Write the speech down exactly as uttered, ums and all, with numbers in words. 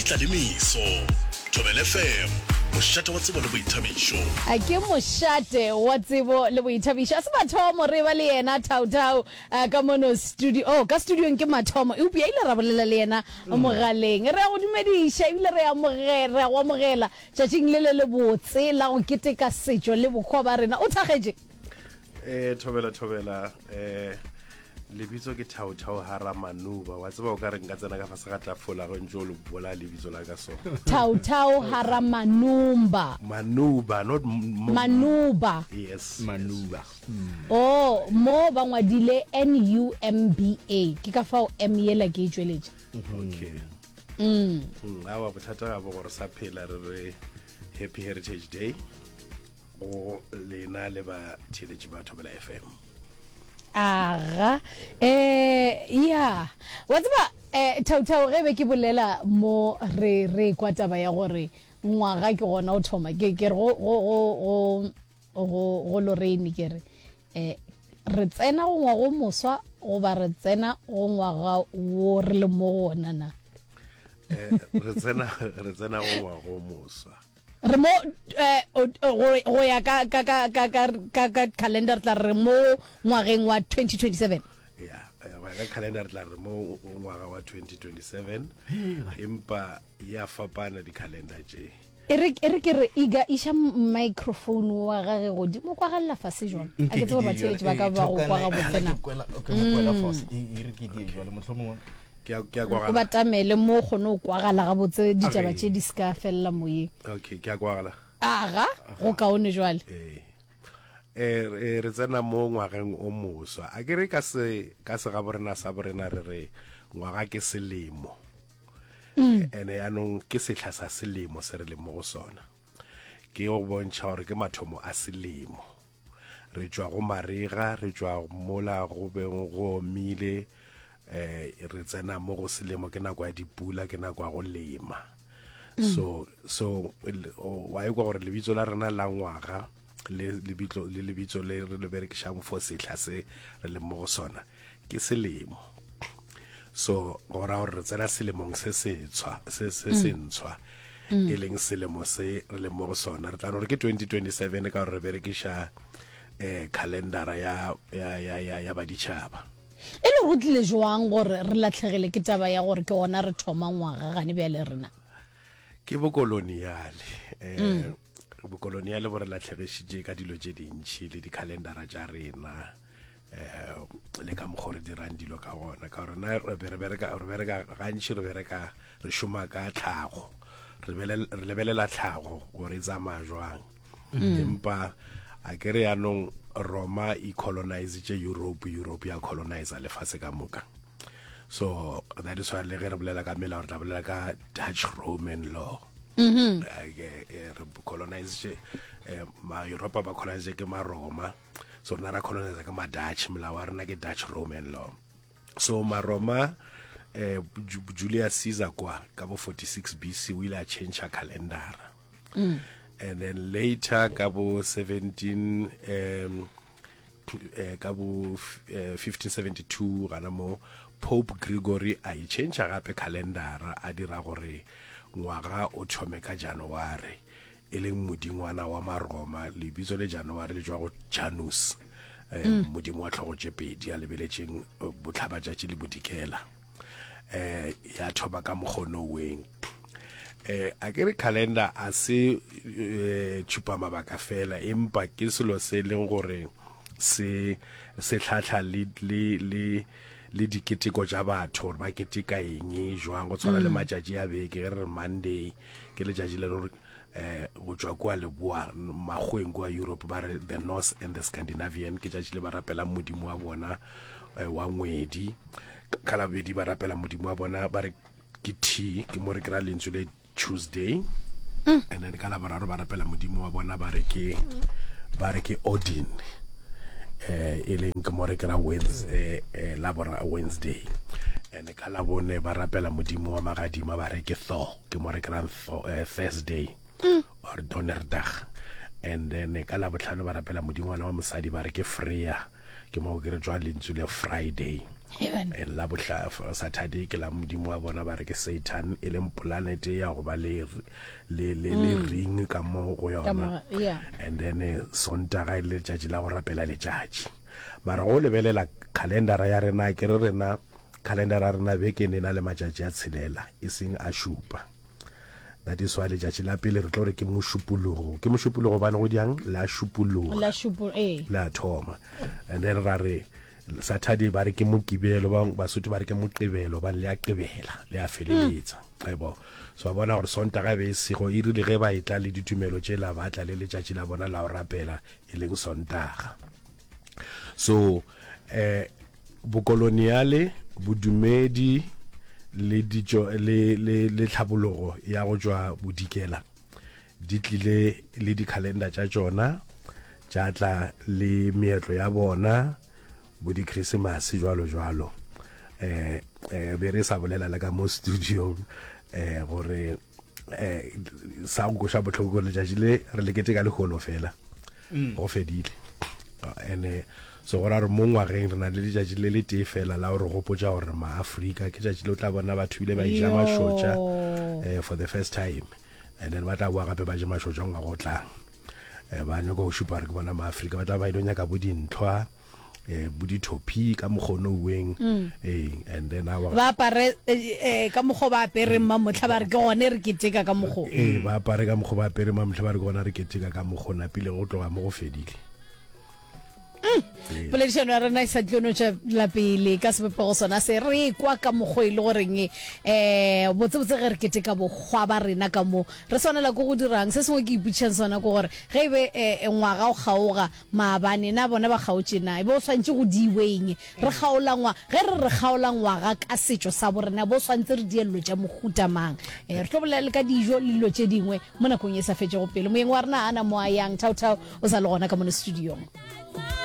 tla le meso. Thobela F M, mošate wa tsebo le boithabišo. A ke mošate wa tsebo le boithabišo. A se mathomo re ba le yena Thau-Thau ka mono studio. Oh, ka studiong ke mathomo, eupša ile ra bolela le yena mogaleng. Re a go dumediša ebile re amogela, re a go amogela tšatšing le le lebotse la go keteka setšo le bohwa ba rena. O thakgetše? Eh, thobela thobela eh lebitso ke Thau-Thau Hara Manuba. Wa tseba, o ka re nka tsena ka fase ga tafola ge ntse o le bola lebitso la ka so. Thau-Thau Hara Manumba. Manuba, not m- m- Manuba. Yes. Manuba. Oh, mo ba ngwadile N U M B A. Ke ka fao M yela ke e tšweletše. Okay. Mm. Mm, awa bothata ga bo gore sa phela. Re re happy Heritage Day go lena le ba theletše ba Thobela F M. Aga, eh ya wa tseba, eh Thau-Thau, ge be ke bolela mo re re kwa taba ya gore ngwaga ke gona o thoma, ke ke re go go go go go go Lorraine, ke re eh re tsena go ngwaga o moswa goba re tsena go ngwaga wo re le mo go ona na? eh re tsena re tsena go ngwaga o moswa. Re mo eh o- go go ya ka ka ka ka ka ka ka calendar, tla re mo ngwageng wa twenty twenty-seven. Ya, eh, go ya ka calendar re tla re mo ngwaga wa twenty twenty-seven, empa ya fapana di-calendar tše. E re e re ke re iga iša microphone wa gage godimo, kwagalela fase jwang? A ke tsebe gore batheeletši ba ka ba go kwa gabotse na. E re ke die jale mohlomongwe. Ke a ke a O kwagala. Batamele mo o kgone go kwagala gabotse, ditaba Okay. tše di se ka felela moyeng. Okay, ke a kwagala. Aga, go kaone jwale. Ee, eh re re tsena mo ngwageng o moswa. A ke re ka se ka se ga borena sa borena re re ngwaga ke selemo, ene yaanong ke sehla sa selemo se re leng mo go sona, ke go bontšha gore ke mathomo a selemo. Re tšwa go marega, re tšwa mola go beng go omile, eh re tsena mo go selemo, ke nako ya dipula, ke nako ya go lema. so so wa ikwa gore lebitso la rena la ngwaga le lebitso le lebitso le re le berekišang for sehla se re leng mo go sona ke selemo. So go ra gore re tsena selemong se setshwa, se se sentshwa, e leng selemo se re leng mo go sona. Re tla no re ke twenty twenty-seven ka gore re berekiša eh calendara ya ya ya ya ya baditšhaba. E le go tlile jwang gore re latlhegele ke taba ya gore ke gona re thoma ngwaga gane bjale rena? Ke bokoloniale. eh bokoloniale bo re latlhegišitše ka dilo tše dintšhi le di-calendara tša rena, eh le ka mokgwa re dirang dilo ka gona, ka gore na re be re bereka re bereka gantši, re bereka re šoma ka tlhago, re bele- re lebelela tlhago gore e tsamaya jwang. Empa a ke re yaanong Roma e colonizitše Europe, Europe ya colonize lefase ka moka. So that is why le ge re bolela ka melao, re tla bolela ka Dutch Roman law. Eh, ke- eh, re colonizitše, eh, ma-Europa ba colonize ke ma-Roma, so rena ra colonize ke ma-Dutch. Molao wa rena ke Dutch Roman law. So ma-Roma, eh, Ju- Julius Caesar kwa ka bo forty-six B C o ile a change calendara, and then later ka bo seventeen um eh, ka bo eh, fifteen seventy-two gana mo, Pope Gregory a e change gape calendara, a dira gore ngwaga o thome ka January, e leng modingwana wa Maroma. Lebitso le January le tšwa go Janus, eh, modimo wa tlhogo tše pedi a lebeletšeng eh, botlhabatšatši le bodikela. eh ya thoma ka mokgono weng. eh a ke re calendar a se eh, tšhupa mabaka fela, empa ke selo se leng gore se se tlhatlha le le le le diketeko tša batho, gore ba keteka eng jwang. Go tshwana le matšatši a beke, ge re re Monday ke letšatši le gore eh go tšwa kua leboa makgweng kua Europe, ba re the Norse and the Scandinavian, ke tšatši le ba rapelang modimo wa bona eh, wa ngwedi. Ka Labobedi ba rapela modimo wa bona, ba re ke T, ke mo re kry-a lentswe le Tuesday. And then ka Laboraro ba rapela modimo wa bona, ba re ke ba re ke Odin, eh e leng ke mo re kry-a Wednesday, eh, labora Wednesday. And ka Labone ba rapela modimo wa magadima, ba re ke Thor, ke mo re kry-ang Thor, eh, Thursday or Donnerdag. And then ka Labotlhano ba rapela modingwana wa mosadi, ba re ke Freya, ke mo ke re tswa lentswe le Friday. And la bohla Saturday ke la modimo wa bona ba re ke Satan, e leng planete ya go ba le le le le ring ka mo go yona. And then eh, Sontaga e le letšatši la go rapela letšatši. Mara go lebelela calendara ya rena, ke re rena calendara ya rena beke e na le matšatši a tshelela, e seng a šupa. That is why letšatši la pele re tlo re ke Mošupologo. Ke Mošupologo bane go diang la šupologa. La šupo ee. La thoma. And then ra re Saturday ba re ke Mokibelo, ba Basotho ba re ke Moqebelo, ba le a qebela, le a feleletsa. Ebo. So ba bona gore Sontaga be e sego, e rile ge ba etla le ditumelo tšela ba tla le letšatši la bona la go rapela e leng Sontaga. So eh bokoloniale, bodumedi le ditšo le le le tlhabologo ya go tšwa bodikela di tlile le dikhalenda tša tšona, tša tla le meetlo ya bona, bo di-Christmas jwalo jwalo. Eh eh be re sa bolela le ka mo studio eh gore eh sa go koša bohloko gore letšatši le re le keteka lehono fela, go fedile. Ene so go ra re mo ngwageng re na le letšatši le le tee fela la gore gopotša gore maAfrika ke tšatši le o tla bona batho bile ba eja mašotša eh, for the first time, and then ba tla boa gape ba je mašotša ngwaga o tlang. Eh, ba nyaka go šupa gore ke bona maAfrika, ba tla ba ile nyaka bo dintlhwa, eh, bo dithopi ka mokgono uweng, eh, and then awa Ba apare eh, eh, ka mokgwa ba apereng mamotlha, ba re ke gone re keteka ka mokgwa. Ee, ba apare ka mokgwa ba apere mamotlha, ba re ke gona re keteka ka mokgwa napile go tloga mo go fedile. Poledišano ya rena e sa tlo no tšwela pele ka sebopego sona se re kwa ka mokgwa e le goreng um botsebotse ge re keteka bokgwa ba rena ka mo re swanela ke go dirang. Se sengwe ke ipotšišang sona ke gore ge e be um ngwaga o kgaoga maabane, na bona ba kgaotše na e be o swantše go diiweng re kgaola ngwa ge re re kgaola ngwaga ka setšo sa borena bo swantse re diello tša mohuta mang. Um re tlo bolela le ka dijo le dilo tše dingwe mo nakong e sa fetšego pele. Moyeng wa rena ana mo a yang thaothao o sa le gona ka mono studiong.